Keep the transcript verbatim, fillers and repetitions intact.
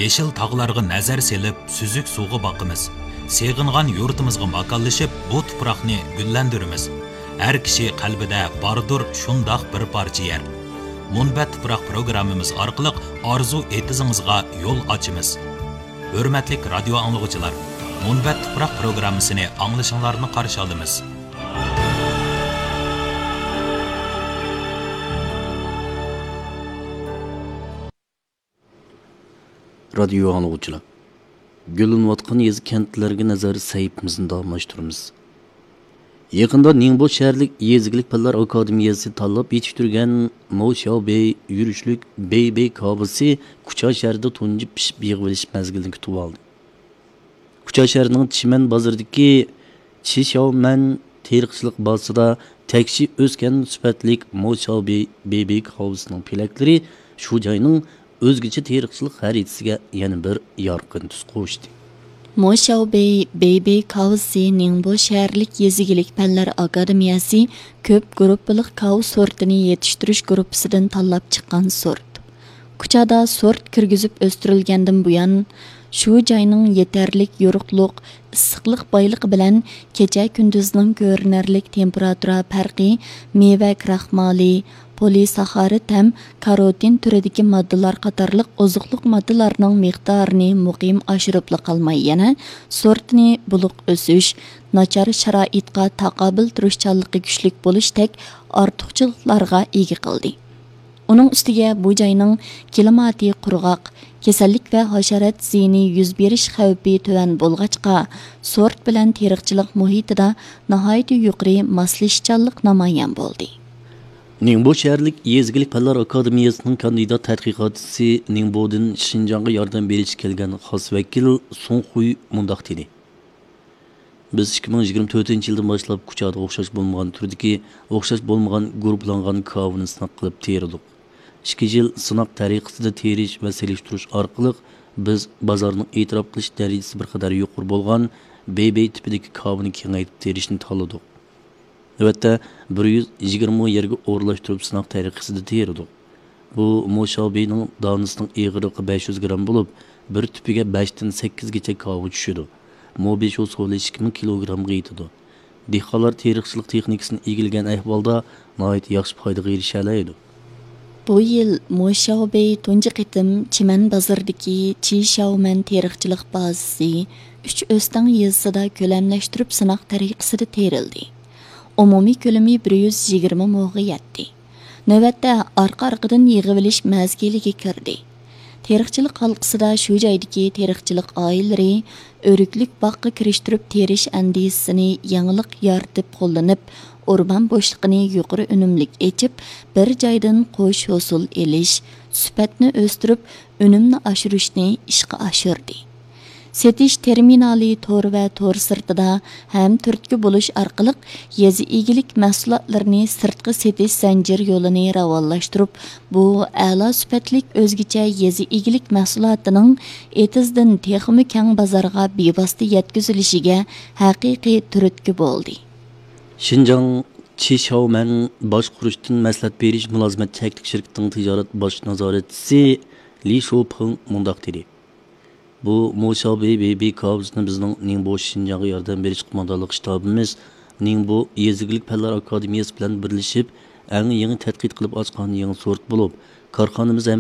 يېشىل تاغلارغا نەزەر سېلىپ، سۈزۈك سۇغا باقىمىز. سېغىنغان يۇرتىمىزغا ماكانلىشىپ، بۇ تۇپراقنى گۈللەندۈرىمىز. ھەر كىشى قەلبىدە باردۇر شۇنداق بىر پارچە يەر. مۇنبەت تۇپراق پروگراممىمىز ئارقىلىق ئارزۇ ئېتىزىڭىزغا يول ئاچىمىز. ھۆرمەتلىك رادىيو ئاڭلىغۇچىلار، مۇنبەت تۇپراق پروگراممىسىنى ئاڭلىشىڭلارنى قارشى ئالىمىز. رادىيو ئاڭلىغۇچىلار، گۈللىنىۋاتقان يېزا كەنتلەرگە نەزەر سەھىپىمىزنى داۋاملاشتۇرىمىز. يېقىندا نىڭبو شەھەرلىك يېزا ئىگىلىك پەنلەر ئاكادېمىيەسى تاللاپ يېتىشتۈرگەن مو شياۋ بېي يۈرۈشلۈك بېي بېي كاۋىسى كۇچا شەھىرىدە تۇنجى پىشىپ يىغىۋېلىش مەزگىلىنى كۈتۈۋالدى. كۇچا شەھىرىنىڭ چىمەن بازىرىدىكى چىشياۋمەن تېرىقچىلىق بازىسىدا تەكشى ئۆسكەن سۈپەتلىك مو شياۋ بېي بېي بېي كاۋىسىنىڭ پېلەكلىرى شۇ جاينىڭ ئۆزگىچە تېرىقچىلىق خەرىتىسىگە يەنە بىر يارقىن تۈس قوشتى. مو شياۋ بېي بېي بېي كاۋىسى نىڭبو شەھەرلىك يېزا ئىگىلىك پەنلەر ئاكادېمىيەسى كۆپ گۇرۇپپىلىق كاۋا سورتىنى يېتىشتۈرۈش گۇرۇپپىسىدىن تاللاپ چىققان سورت. كۇچادا سورت كىرگۈزۈپ ئۆستۈرۈلگەندىن بۇيان، شۇ جاينىڭ يېتەرلىك يورۇقلۇق، ئىسسىقلىق بايلىقى بىلەن كېچە-كۈندۈزنىڭ كۆرۈنەرلىك تېمپېراتۇرا پەرقى، مېۋە كراخمالى، پولىساخارىد ھەم كاروتىن تۈرىدىكى ماددىلار قاتارلىق ئوزۇقلۇق ماددىلارنىڭ مىقدارىنى مۇقىم ئاشۇرۇپلا قالماي، يەنە سورتنى بولۇق ئۆسۈش، ناچار شارائىتقا تاقابىل تۇرۇشچانلىقى كۈچلۈك بولۇشتەك ئارتۇقچىلىقلارغا ئىگە قىلدى. ئۇنىڭ ئۈستىگە بۇ جاينىڭ كىلىماتى قۇرغاق، كېسەللىك ۋە ھاشارات زىيىنى يۈز بېرىش خەۋپى تۆۋەن بولغاچقا، سورت بىلەن تېرىقچىلىق مۇھىتىدا ناھايىتى يۇقىرى ماسلىشىشچانلىق نامايان بولدى. نىڭبو شەھەرلىك يېزا ئىگىلىك پەنلەر ئاكادېمىيەسىنىڭ كاندىدات تەتقىقاتچىسى، نىڭبودىن شىنجاڭغا ياردەم بېرىشكە كەلگەن خاس ۋەكىل سۇڭ خۇي مۇنداق دېدى. بىز ئىككى مىڭ يىگىرمە تۆتىنچى يىلدىن باشلاپ كۇچادا ئوخشاش بولمىغان تۈردىكى، ئوخشاش بولمىغان گۇرۇپپىلانغان كاۋىنى سىناق قىلىپ تېرىدۇق. ئىككى يىل سىناق تەرىقىسىدە تېرىش ۋە سېلىشتۇرۇش ئارقىلىق، بىز بازارنىڭ ئېتىراپ قىلىش دەرىجىسى بىر قەدەر يۇقىرى بولغان بېي بېي تىپىدىكى كاۋىنى كېڭەيتىپ تېرىشنى تاللىدۇق. نۆۋەتتە بىر يۈز يىگىرمە يەرگە ئورۇنلاشتۇرۇپ سىناق تەرىقىسىدە تېرىدۇق. بۇ مو شياۋ بېينىڭ دانىسىنىڭ ئېغىرلىقى بەش يۈز گرام بولۇپ، بىر تۈپىگە بەشتىن سەككىزگىچە كاۋا چۈشىدۇ. مو بېشى سولى ئىككى مىڭ كىلوگرامغا يېتىدۇ. دېھقانلار تېرىقچىلىق تېخنىكىسىنى ئىگىلىگەن ئەھۋالدا ناھايىتى ياخشى پايدىغا ئېرىشەلەيدۇ. بۇ يىل مو شياۋ بېي تۇنجى قېتىم چىمەن بازىرىدىكى چى شياۋمەن تېرىقچىلىق بازىسى ئۈچ ئۆستەڭ يېزىسىدا كۆلەملەشتۈرۈپ سىناق تەرىقىسىدە تېرىلدى. ئومۇمىي كۆلىمى بىر يۈز يىگىرمە موغا يەتتى. نۆۋەتتە ئارقا-ئارقىدىن يىغىۋېلىش مەزگىلىگە كىردى. تېرىقچىلىق ھالقىسىدا شۇ جايدىكى تېرىقچىلىق ئائىلىلىرى ئۆرۈكلۈك باغقا كىرىشتۈرۈپ تېرىش ئەندىزىسىنى يېڭىلىق يارىتىپ قوللىنىپ، ئورمان بوشلۇقىنى يۇقىرى ئۈنۈملۈك ئېچىپ، بىر جايدىن قوش ھوسۇل ئېلىش، سۈپەتنى ئۆستۈرۈپ، ئۈنۈمنى ئاشۇرۇشنى ئىشقا ئاشۇردى. سېتىش تېرمىنالى تور ۋە تور سىرتىدا ھەم تۈرتكە بولۇش ئارقىلىق يېزا ئىگىلىك مەھسۇلاتلىرىنى سىرتقا سېتىش زەنجىر يولىنى راۋانلاشتۇرۇپ، بۇ ئەلا سۈپەتلىك ئۆزگىچە يېزا ئىگىلىك مەھسۇلاتىنىڭ ئېتىزدىن تېخىمۇ كەڭ بازارغا بىۋاسىتە يەتكۈزۈلۈشىگە ھەقىقىي تۈرتكە بولدى. شىنجاڭ چىشياۋمەن باشقۇرۇشتىن مەسلىھەت بېرىش مۇلازىمەت چەكلىك شىركىتىنىڭ تىجارەت باش نازارەتچىسى لى شوپىڭ مۇنداق دېدى. بۇ مو شياۋبېي بېيبېي كاۋىسىنى بىزنىڭ نىڭبو شىنجاڭغا ياردەم بېرىش قوماندانلىق شتابىمىز نىڭبو يېزا ئىگىلىك پەنلەر ئاكادېمىيەسى بىلەن بىرلىشىپ ئەڭ يېڭى تەتقىق قىلىپ ئاچقان يېڭى سورت بولۇپ، كارخانىمىز ھەم